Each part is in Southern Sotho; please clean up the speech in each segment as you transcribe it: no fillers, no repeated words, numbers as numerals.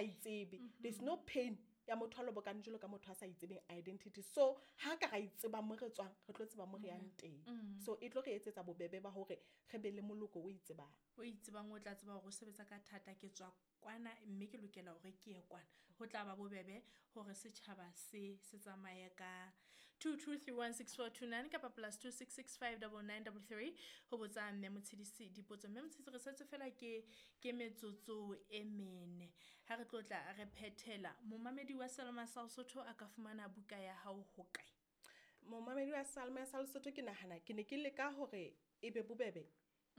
sa itsebe. There's no pain ya motho a lobokane jwalo ka motho a sa itsebeng identity. So ha ka ra itseba mo re tswang, re tlo tseba mo re yang teng. So e tlo re etsetsa bobebe ba hore re be le moloko o itsebang. O itsebang, o tla tseba hore o sebetsa ka thata, ke tswa kwana mme ke lokela hore ke ye kwana. Ho tla ba bobebe hore setjhaba se se tsamaye ka 22316429 kapa +266 59933 ho botsa mme Motshidisi dipotso. Mme Motshidisi, re setse fela ke metsotso e mene ha re tlo tla re phethela. Momamedi wa Selma sa Lesotho a ka fumana buka ya hao ho kae? Momamedi wa Salma sa Lesotho, ke nahana ke ne ke leka hore e be bobebe.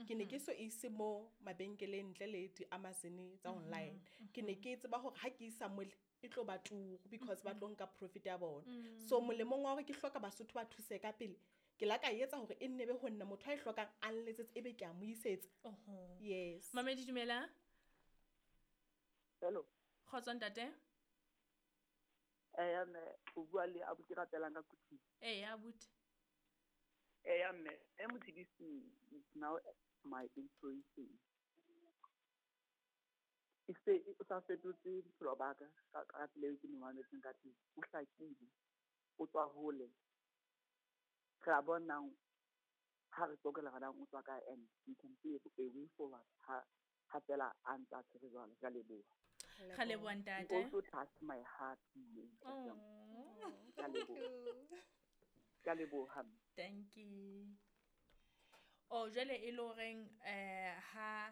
Ke ne ke so ise mo mabenkeleng ntle le di-Amazon tsa online. Ke ne ke tseba hore ha ke isa mole e tlo ba turu because ba tlo nka profit ya bona. So molemong wa hore ke hloka Basotho ba thuse ka pele, ke la ka etsa hore e nne be ho nna motho a e hlokang a nletsetse, ebe ke a mo isetsa. Oho. Yes. Mamedi, dumela. Hello. Kgotso, ntate. Eya mme, o bua le abuti Rapelang ka Kuthing. Ee, abuti. Eya mme, e Motshidisi is now my inspiration. E se o sa fetotse bophelo ba ka ka tsela eo ke mo mametseng ka teng. O hlakile, o tswa hole. Re a bonang ha re tsokela re o tswa kae, and you can see a way forward ha fela a ntse a tshwere jwalo. Ke a leboha. Ga leboha, He ntate. also touched my heart, mme. Oh. Ke a leboha. Ke a leboha, mme. Thank you. Oh, jwale e le horeng ha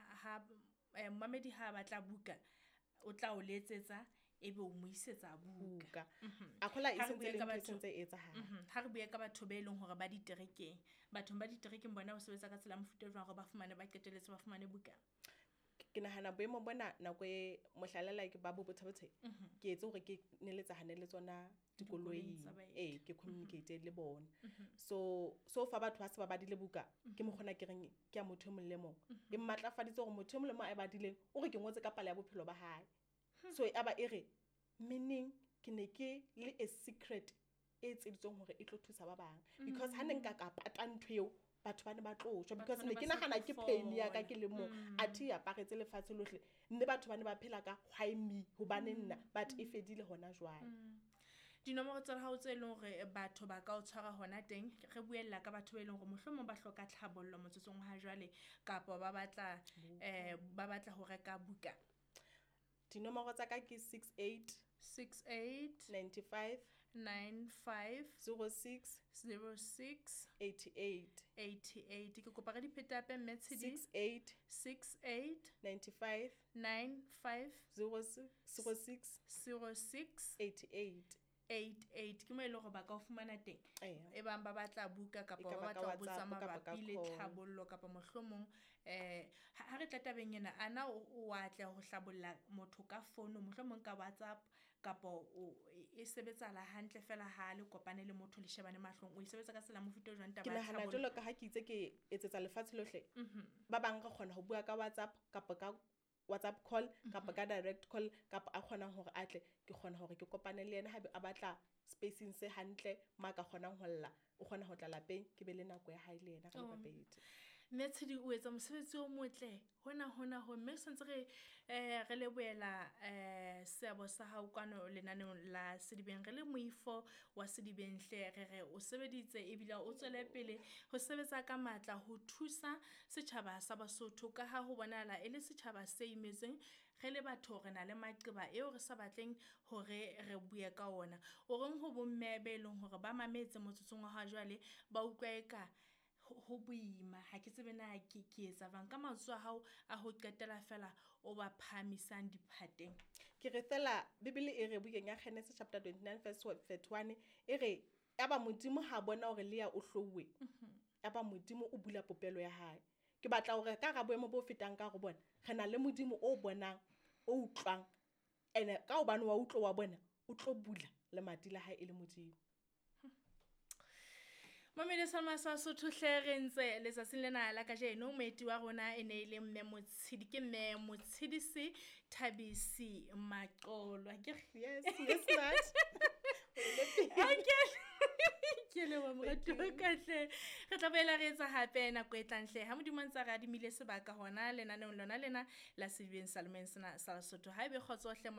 momamedi ha a batla buka, o tla o letsetsa, ebe o mo isetsa buka. Buka a kgola e Ha re sentse bue le ka ntho e batho- sentse e etsahala. Ha re bue ka batho be leng hore ba diterekeng, bathong ba diterekeng bona o sebetsa ka tsela ya mofuta o jwang hore ba fumane, ba qetelletse ba fumane buka? Ke nahana boemo bona nako e mohlala like ba bo Botha-Bothe, ke etse hore ke neletsahane le tsona Dikoloing dikoloing tsa baeti. Ee, ke communicate le bona. So fa batho ba se ba badile buka, ke mokgona ke reng ke ya motho e mong le mong, e mmatlafaditse hore motho e mong le mong a e badileng o re ke ngotse ka palo ya bophelo ba hae. So e aba e re meaning ke ne ke le a secret e etseditsweng hore e tlo thusa ba bang, because ha ne nka ka pata ntho eo, batho ba ne ba tlo shwa, because Batho ba ne ne ke ba sa nahana tlo ke pain ya ka fola. ke le mong, athe e aparetse lefatshe lohle, mme batho ba ne ba phela ka why me, hobane nna, but e fedile hona jwale. Dinomoro tsa hao tse leng hore batho ba ka o tshwara hona teng, re buella ka batho ba e leng hore mohlomong ba hloka tlhabollo motsotsong wa jwale, kapa ba batla ho reka buka. Dinomoro tsa ka ke 68 68 95 95 06 06 88. 88. Ke kopa re di phete hape, mme Tshedi. 68 68 95 95 06 06 06 88. 88. Ke mo e leng hore ba ka o fumana teng Eya. e bang ba batla buka kapa E ka ba ba ka batla ho botsa WhatsApp kapa ka mabapi le call. tlhabollo, kapa mohlomong ha re tla tabeng ena, ana o atleha ho hlabolla motho ka fono, mohlomong ka WhatsApp, kapa o e sebetsahala hantle fela ha le kopane le motho, le shebane mahlong? O e sebetsa ka tsela mofuta o jwang Ke taba ya nahana tlhabollo? jwalo ka ha ke itse ke etsetsa lefatshe lohle, ba bang re kgona ho bua ka WhatsApp kapa ka WhatsApp call kapa ka direct call, kapa a kgonang hore a tle, ke kgona hore ke kopane le yena haebe a batla spacing se hantle ma ka kgonang ho lla, o kgona ho tla lapeng, ke be le nako ya hae le yena ka le babedi. Mme Tshedi, o etsa mosebetsi o motle hona hona ho, mme santse re lebohela seabo sa hao kwano lenaneong la Sedibeng. Re le moifo wa Sedibeng hle, re re o sebeditse ebile o tswele pele ho sebetsa ka matla ho thusa setjhaba sa Basotho, ka ha ho bonahala e le setjhaba se imetsweng. Re le batho re na le maqeba eo re sa batleng hore re bue ka ona. O reng ho bomme be leng hore ba mametse motsotsong wa ha jwale, ba utlwa eka ho boima, ha ke tsebe na ke etsa jwang, ka mantswe a hao a ho qetela fela o ba phahamisang diphateng? Ke re fela Bibele e re bukeng ya Genesis chapter 29 verse 31, e re aba Modimo ha bona hore Lea o hlouwe, aba Modimo o bula popelo ya hae. Ke batla hore ka ra boemo bo fetang ka go bona, re na le Modimo o bonang, o utlwang, ene ka hobane wa utlwa, wa bona, o tlo bula lemati la hae e le Modimo. Mamedi Salma sa Sotho hle, re ntse letsatsing lena la kajeno, moeti wa rona e ne e le mme Motshidi, ke mme Motshidisi Thabisi Maqolo. Ke re Yes, smart. Okay, ke leboha, moratuwa ka hle. Re tla boela re etsa hape nako e tlang hle, ha Modimo a ntse a re adimile sebaka hona lenaneong lona lena la Sedibeng Salomeng sena sa Lesotho. Ha ebe kgotso hle.